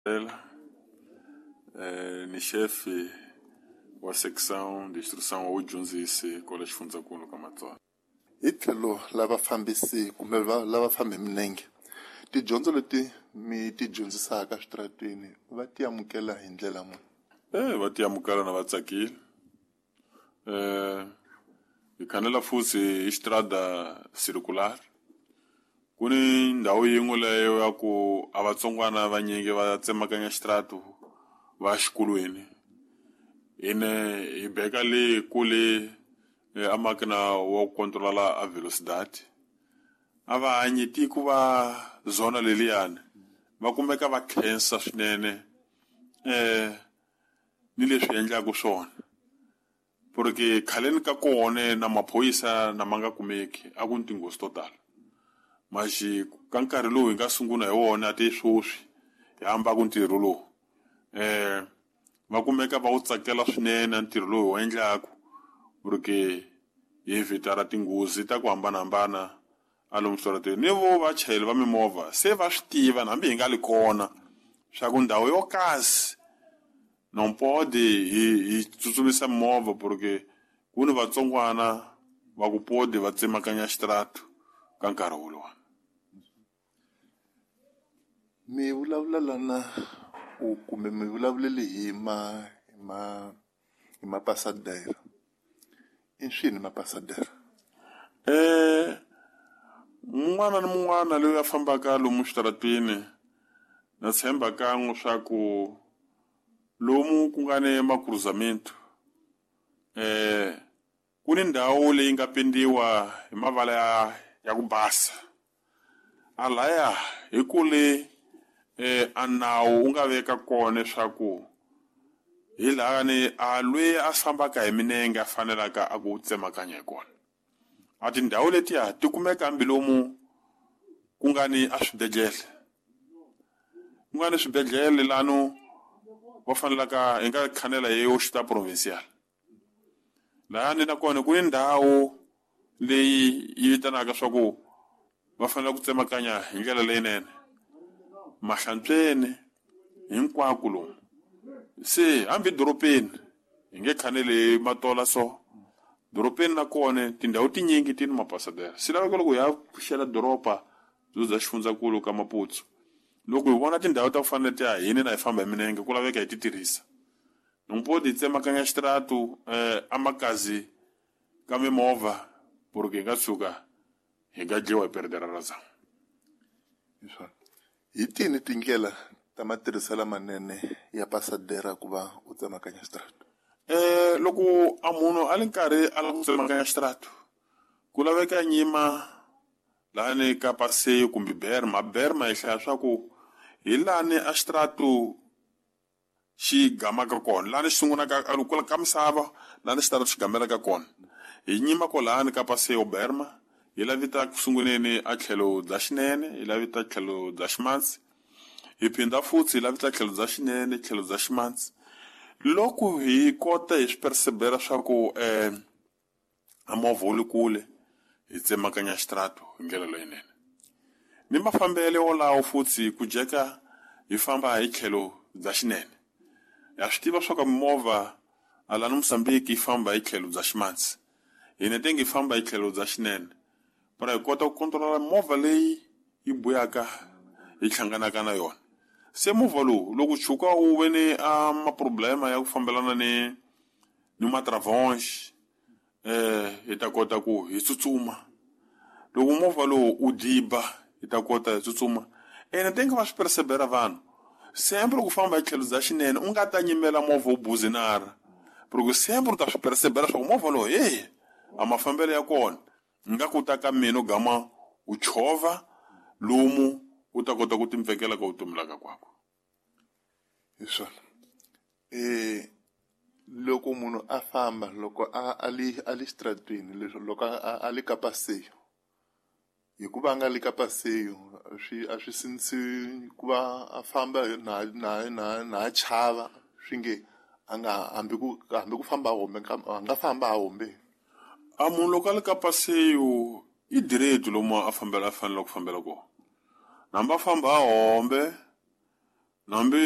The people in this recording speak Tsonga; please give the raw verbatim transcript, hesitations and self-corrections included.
Eh, ni chefe wa seção de instrução wa vudyondzisi kwala xifundzankulu ka Matsonga. Hi tlhelo la vafambisi kumbe lava fambi hi milenge, tidyondzo leti mi ti dyondzisaka eswitarateni va ti amukela hi ndlela muni? Eh, va ti amukela na va tsakile. Eh, hi khanela futhi hi xitrada circular. Ku ni ndhawu yin'we leyo ya ku a vatsongwana vanyingi va tsemakanya xitratu va xikolweni. Hine hi beka le kule a makina wa ku controla a velocidade. A va hanyi tiko va zona leliyani va kumeka va khensa swinene eh ni leswi endlaka swona, porque khaleni ka kona na maphorisa na ma nga kumeki a ku ni tinghozi to tala. Maxi ka nkarhi lowu hi nga sungula hi wona ti sweswi hi hambaka ntirho lowu eh va kumeka va wu tsakela swinene ntirho lowu hi wu endlaka, porque hi evitara tinghozi ta ku hambanahambana a lomu switarateni. Ni vo vachayeri va mimovha se va swi tiva hambi hi nga li kona swa ku ndhawu yo kasi non pode hi hi tsutsumisa mimovha, porque ku ni vatsongwana va ku pode va tsemakanya xitratu ka nkarhi wolowo. Mi vulavula lana u kumbe mi vulavulele hi ma hi ma hi mapasadera. I swini mapasadera? Eh, mun'wana ni mun'wana loyi a fambaka lomu switarateni na tshemba kan'we swa ku lomu ku nga ni makruzamento eh ku ni ndhawu leyi nga pendiwa hi mavala ya, ya ku basa. A laya hi kule eh a nawu wu nga veka kona leswaku hi laha ni a loyi a fambaka hi minenge a fanelaka a ku tsemakanya hi kona. A tindhawu letiya ti kumeka hambi lomu ku nga ni a swibedhlele, ku nga ni swibedhlele lano va fanelaka hi nga khanela hi hospital provincial. Lahani nakona ku ni ndhawu leyi yi vitanaka swa ku va fanele ku tsemakanya hi ndlela leyinene mahlantsweni hinkwako lomu. Se hambi dorobeni hi nge khaneli matola so dorobeni nakona tindhawu tinyingi ti ni mapasadera. Swi laveka loko hi ya pfuxela doroba byo bya xifundzankulu ka Maputo, loko hi vona tindhawu ta ku fana letiya hini na hi famba hi minenge ku laveka hi ti tirhisa. Nompo ti tsemakanya xitratu eh a makazi ka mimovha porque hi nga tshuka hi nga dliwa hi perdera razão. Hi swona. Hi tini tindlela ta matirhiselo lamanene ya pasadera ku va u tsemakanya xitratu? Eh loko a munhu a li nkarhi a lava ku tsemakanya xitratu ku laveka nyima lani ka passeio kumbe berma. Berma hi hlaya swa ku hi lani a xitratu xi gamaka kona, lani xi sungulaka ka ka misava, lani xitratu xi gamelaka kona. Hi nyima kwalani ka passeio berma, hi lavita ku sunguleni a tlhelo bya xinene, hi lavita tlhelo bya ximatsi, hi phinda futhi hi lavita tlhelo bya xinene, tlhelo bya ximatsi. Loko hi kota hi swi percebera swa ku eh a movha wu le kule, hi tsemakanya xitratu hi ndlela leyinene. Ni mafambelo wolawo futhi ku jeka hi famba hi tlhelo bya xinene. Ha swi tiva swa ku mimovha a lani Mozambique yi famba hi tlhelo bya ximatsi, hina tenge hi famba hi tlhelo bya xinene, para hi kota ku controla movha leyi yi buyaka hi hlanganaka na yona. Se movha lowu loko tshuka wu ve ni a maproblema ya ku fambelana ni ni matravonge eh hi ta kota ku hi tsutsuma. Loko movha lowu u diba hi ta kota hi tsutsuma. Ene tenge va swi percebera vanhu sempre loko u famba hi tlhelo bya xinene u nga ta nyimela movha wu buzinara, porque sempre u ta swi percebera swa ku movha lowu hey a mafambelo ya kona nga ku ta ka mina u gama u chovha lomu u ta kota ku timpfekela ka vutomi la ka kwako. Hi swona. Eh loko munhu a famba loko a a li a li xitarateni leswi loko a a li ka passeio, hikuva a nga li ka passeio swi a swi sindzisi ku va a famba na na na na chava swi nge a nga hambi ku hambi ku famba a hombe a nga famba a hombe. A munhu loko a li ka passeio i direito lomu a fambela a fanele ku fambela kona, hambi a famba a hombe hambi